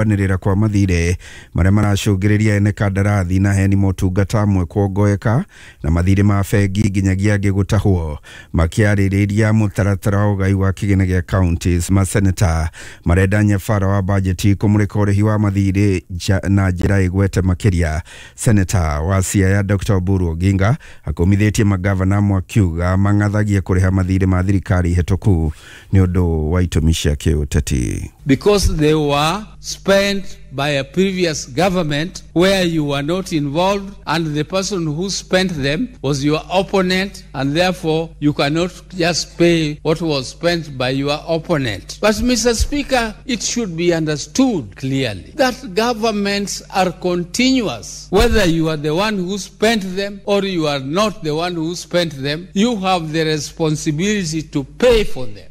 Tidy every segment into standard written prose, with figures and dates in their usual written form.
Kũrũanĩrĩra kwa mathirĩ marĩa maracũngĩrĩria ene kandarathi na heani motungata amwe kuongoeka na mathirĩ ma bengi nginyagia angĩ gũtahwo. Makĩarĩrĩria mũtaratara wa ũgai wa kĩgĩna gĩa counties, maseneta marenda nyabara wa bajeti kũmũrĩka ũrĩhi wa mathirĩ na njĩra ĩgwete makĩria. Seneta wa Siaya Dr. Oburu Oginga akũmithĩtie magavana amwe akiuga mang'athagia kũrĩha mathirĩ ma thirikari hetũku nĩ ũndũ wa itũmi cia kĩũteti. Because they were spent by a previous government where you were not involved, and the person who spent them was your opponent, and therefore you cannot just pay what was spent by your opponent. But Mr. Speaker, it should be understood clearly that governments are continuous. Whether you are the one who spent them or you are not the one who spent them, you have the responsibility to pay for them.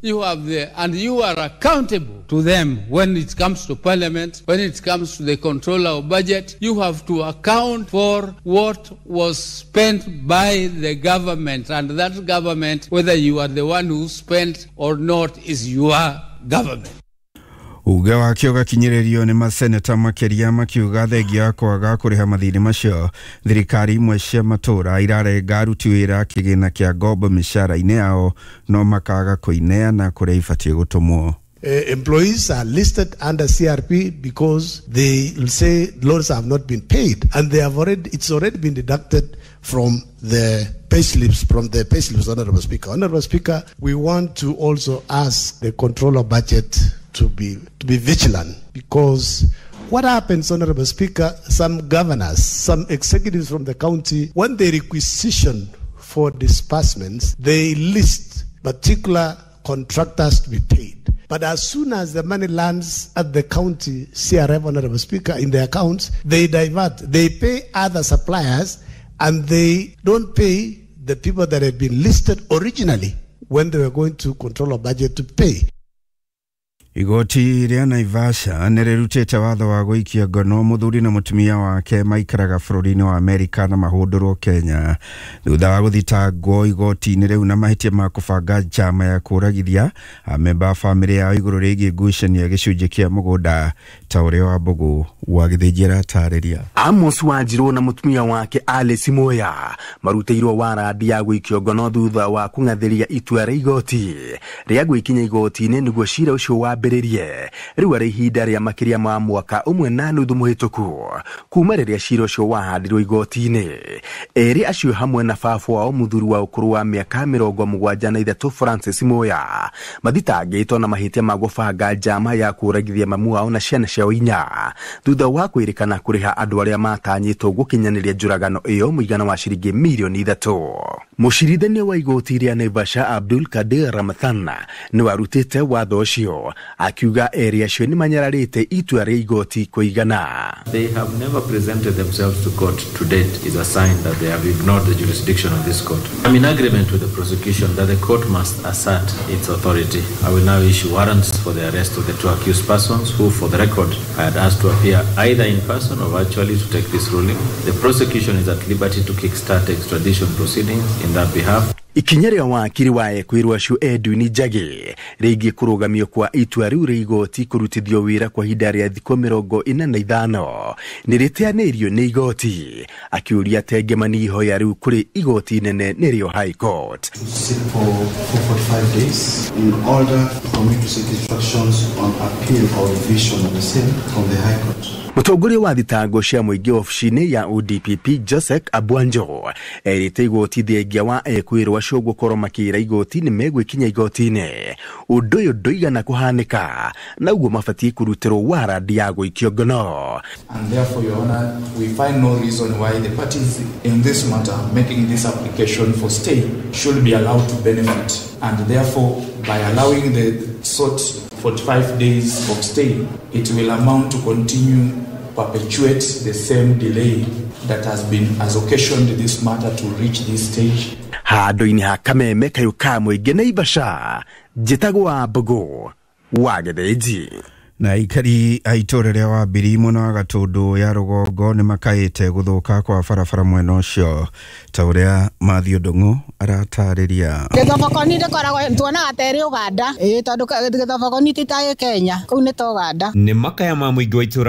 And you are accountable to them when it comes to parliament, when it comes to the controller of budget. You have to account for what was spent by the government, and that government, whether you are the one who spent or not, is your government. Uge wake ũgakinyĩrĩrio nĩ maseneta makĩria makiuga thengia wa kwaga kũrĩha mathirĩ macio, thirikari imwe cia matũra irarenga aruti wĩra kĩgĩna kĩa ngombo mĩcara-inĩ yao no makaga kũineana kũrĩa ibatiĩ gũtũmwo. Employees are listed under CRP because they will say loans have not been paid, and they have already, it's already been deducted from the pay slips, from the pay slips, Honorable Speaker. Honorable Speaker, we want to also ask the controller budget to be vigilant, because what happens, Honorable Speaker, some governors, some executives from the county, when they requisition for disbursements, they list particular contractors to be paid. But as soon as the money lands at the county CRF, Honorable Speaker, in their accounts, they divert. They pay other suppliers and they don't pay the people that had been listed originally when they were going to control a budget to pay. Igoti rĩa Naivasha nĩ rĩrutĩte watho wa gũikia ngono mũthuri na mũtumia wake maikaraga bũrũri-inĩ wa Amerika na mahũndũrwo Kenya thutha wa gũthitangwo igoti-inĩ rĩu na mahĩtia ma kũbanga njama ya kũragithia amemba a bamĩrĩ yao igũrũ rĩgiĩ ngucanio ya gĩcunjĩ kĩa mũgũnda, ta ũrĩa wa Mbũgũ wa Gĩthĩnji aratarĩria. Amos Wanjirũ na mũtumia wake Alice Muya marutĩirwo warandi ya gũikio ngono thutha wa kũng'athĩria itua rĩa igoti rĩa gwĩkinya igoti-inĩ nĩguo cira ũcio wambĩrĩrie. Rĩu arĩ ihinda rĩa makĩria ma mwaka ũmwe na nuthu mũhĩtũku kuma rĩrĩa cira ũcio wahandirwo igoti-inĩ. Erĩ acio hamwe na baba wao, mũthuri wa ũkũrũ wa mĩaka 73 Francis Muya, mathitangĩtwo na mahĩtia ma gũbanga njama ya kũragithia mamu wao na ciana ciao inya thutha wa kwĩrĩkana kũrĩha andũ arĩa matanyĩtwo gũkinyanĩria njũragano ĩyo mũigana wa ciringi mirioni 3. Mũcirithania wa igoti rĩa Naivasha Abdul Kadir Ramathan nĩ warutĩte watho ũcio akiuga erĩ acio nĩ manyararĩte itua rĩa igoti kũigana. They have never presented themselves to court to date is a sign that they have ignored the jurisdiction of this court. I'm in agreement with the prosecution that the court must assert its authority. I will now issue warrants for the arrest of the two accused persons who, for the record, I had asked to appear either in person or virtually to take this ruling. The prosecution is at liberty to kickstart extradition proceedings in that behalf. Ikinya rĩa wakiri wa ekwĩrwo acio Edwin Njagi rĩgiĩ kũrũgamio kwa itua rĩu rĩa igoti kũrutithio wĩra kwa ihinda rĩa thikũ 45 nĩ rĩteanĩirio nĩ igoti, akiũria tengemani ihoya rĩu kũrĩ igoti inene nĩrĩo High Court. To sit for 45 days in order for me to seek instructions on appeal or revision of the same from the High Court. Mũtongoria wa thitango cia mũingĩ obici-inĩ ya ODPP Joseph Abwanjo erĩte igoti thengia wa ekwĩrwo acio gũkorwo makĩra igoti nĩ megwĩkinya igoti-inĩ, ũndũ ũyũ ndũigana kũhanĩka na ũguo mabatiĩ kũrutĩrwo warandi ya gũikio ngono. And therefore, Your Honor, we find no reason why the parties in this matter making this application for stay should be allowed to benefit. And therefore, by allowing the sought 45 days of stay, it will amount to continue perpetuate the same delay that has occasioned this matter to reach this stage. Handũ-inĩ ha kameme kayũ ka mũingĩ Naivasha, njĩtagwo wa Mbũgũ wa Gĩthĩnji. Na aikari a itũũra rĩa Wambiri mwena wa Gatũndũ ya rũgongo nĩ makaĩte gũthũka kwa barabara mwena ũcio, ta ũrĩa Mathiũ Ndung'u aratarĩria. Gĩthobokoni ndĩkoragwo tuonaga ta ĩrĩ Uganda, ĩĩ, tondũ gĩthobokoni ti ta ĩ Kenya, kũu nĩ ta Uganda. Nĩ makaya ma mũingĩ wa itũra.